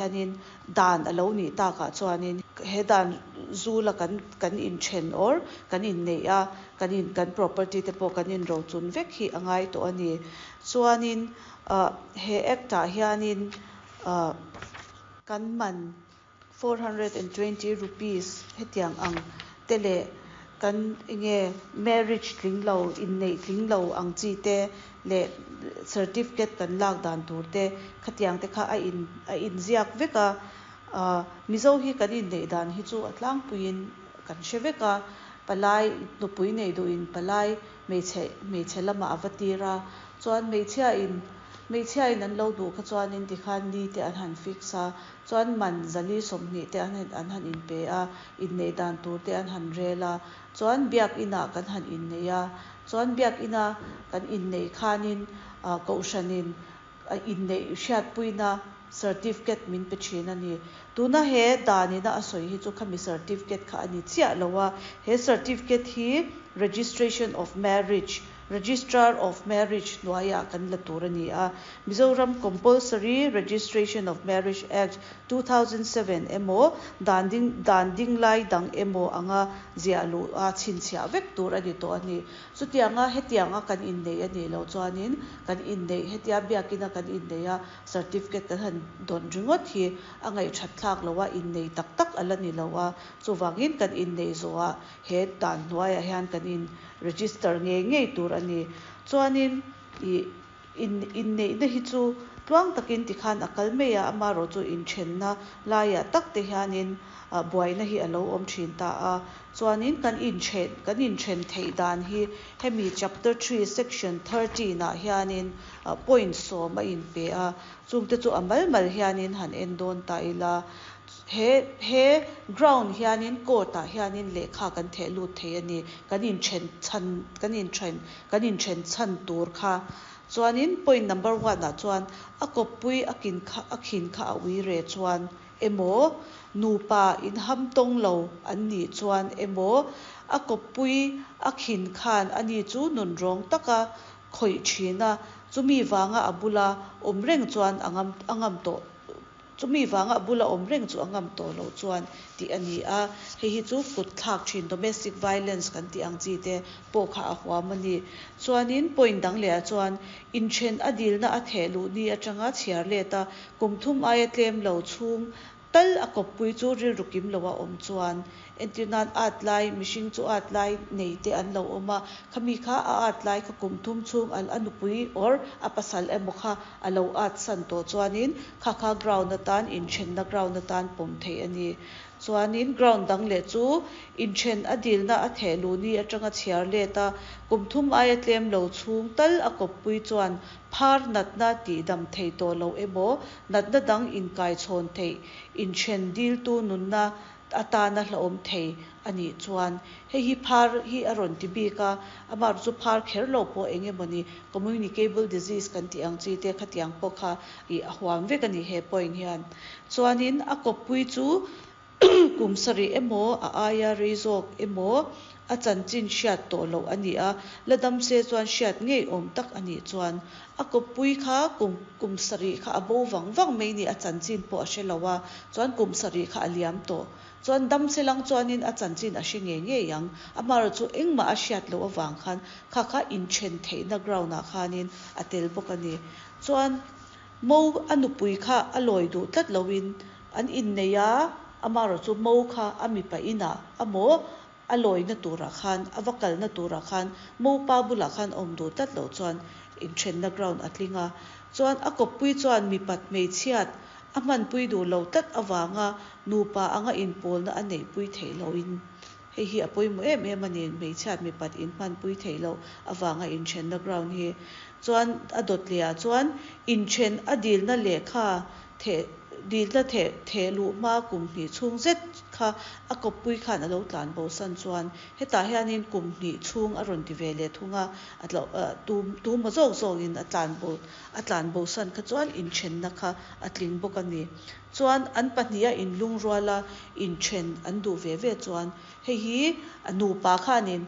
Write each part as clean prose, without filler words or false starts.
Hianin dan a lo nih takah chuanin he dan zula kan kan inthen or kan inneih a, kan in kan property te pawh kan inrochun vek hi a ngai tawh a ni. Chuanin ah he act ah hianin ah kan man ₹420 hetiang ang te leh kan enge marriage tling lo inneih tling lo ang chi te leh certificate kan lak dan tur te khatiang te kha a in a inziak vek a, ah Mizo hi kan inneih dan hi chu a tlangpuiin kan hre vek a, palai nupui nei duhin palai hmeichhe hmeichhe lamah a va tir a, chuan hmeichhia in hmeichhia in an lo duh kha chuanin tikhan ni te an han fix a, Chuan man 420 te an an han inpe a, inneih dan tur te an han rel a, chuan biakinah kan han innei a, chuan biakina kan inneih khanin kohhranin inneih hriatpuina certificate min pe thin a ni. Tuna he danina a sawi hi chu khami certificate kha a ni chiah lo a, he certificate hi Registration of Marriage, Registrar of Marriage hnuaiah kan la tur a ni a. Mizoram Compulsory Registration of Marriage Act, 2007 emaw, dan ding dan ding lai dang emaw anga ziah luh a chhinchhiah vek tur a ni tawh a ni. Chutianga hetianga kan inneih a nih loh chuanin kan inneih hetia biakina kan inneih a certificate kan han dawn ringawt hi a ngaihthat thlak loh a, inneih tak tak a la ni lo a. Chuvangin kan inneih zawhah he dan hnuaiah hian kan in register ngei ngei tur a ni. Chuanin ih in inneihna hi chu tluang takin tikhan a kal mai a, amaherawh chu inthenna laiah tak te hianin ah buaina hi a lo awm thin ta a. Chuanin kan inthen kan inthen theih dan hi hemi chapter 3 section 13 ah hianin ah point 10 a inpe a, chungte chu a mal mal hianin han en dawn ta ila. He he ground hianin court ah hianin lehkha kan theh lut thei a ni. Kan inthen chhan kan inthen kan inthen chhan tur kha. Chuanin point number one ah chuan a kawppui a kin kha a khin kha a ui re chuan emaw nupa inham tawng lo an nih chuan emaw a kawppui a khin khan ani chu nunrawng taka khawih thin a, chumi vanga a bula awm reng chuan a ngam a ngam tawh Chumi vanga a bula awm reng chu a ngam tawh loh chuan tih a ni a, hei hi chu kut thlak thin domestic violence kan tih ang chi te pawh kha a huam a ni. Chuanin point dang lehah chuan inthen a dilna a theh luh ni atanga chhiar let a, kum thum aia tlem lo chhung tal a kawppui chu rilru kim loha awm chuan Entir nan at lai, mihring chu at lai nei te an lo awm a, khami kha a at lai kha kum thum chhung a nupui or a pasal emaw kha a lo at san tawh chuanin kha kha ground atan inthenna ground atan pawm theih a ni. Chuanin ground dang leh chu inthen a dilna a theh luh ni atanga chhiar let a, kum thum aia tlem lo chhung tal a kawppui chuan phar natna tihdam thei tawh lo emaw natna dang inkaichhawn theih inthen diltu nunna atana hlauhawm thei a nih chuan hei hi phar hi a rawn ti bik a, amah chu phar kher lo pawh eng emawni communicable disease kan tih ang chi te khatiang pawh kha ih a huam vek a ni he point hian. Chuanin a kawppui chu kum sarih emaw a aia rei zawk emaw a chanchin hriat tawh loh a ni a, la dam se chuan hriat ngei awm tak a nih chuan a kawppui kha kum kum sarih kha a bo vang vang mai ni a chanchin pawh a hre lo a, chuan kum sarih kha a liam tawh. Chuan dam se lang chuanin a chanchin a hre ngei ngei ang, amaherawh chu engmah a hriat loh avang khan kha kha inthen theihna ground ah khanin a tel bawk a ni. Chuan Mo a nupui kha a lawi duh tlat loin an innei a, amaherawh chu Mo kha a mipa inah a maw A lawina turah khan, a va kalna turah khan Mopa bulah khan awm duh tlat loh chuan inthenna ground a tling a. Chuan a kawppui chuan mipat hmeichhiat a hmanpui duh lo tlat avanga nupa anga inpawlna a neihpui theih lohin hei hi a pawimawh em em a ni, hmeichhiat mipat inhmanpui theih loh avanga inthenna ground hi. Chuan a dawt lehah chuan inthen a dilna lehkha Theh dilna theh theh luh hma kum hnih chhung zet kha a kawppui khan a lo tlan bo san chuan hetah hianin kum hnih chhung a rawn ti ve leh thung a, a tlo tu tu maw zawk zawkin a tlan bo a tlan bo san kha chuan inthenna kha a tling bawk a ni. Chuan an pahniha inlungruala inthen an duh ve ve chuan hei hi a nupa khanin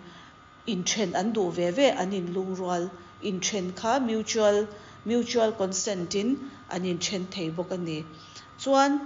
Inthen an duh ve ve, an inlungrual. Inthen kha mutual, mutual consent in an inthen thei bawk a ni. Chuan.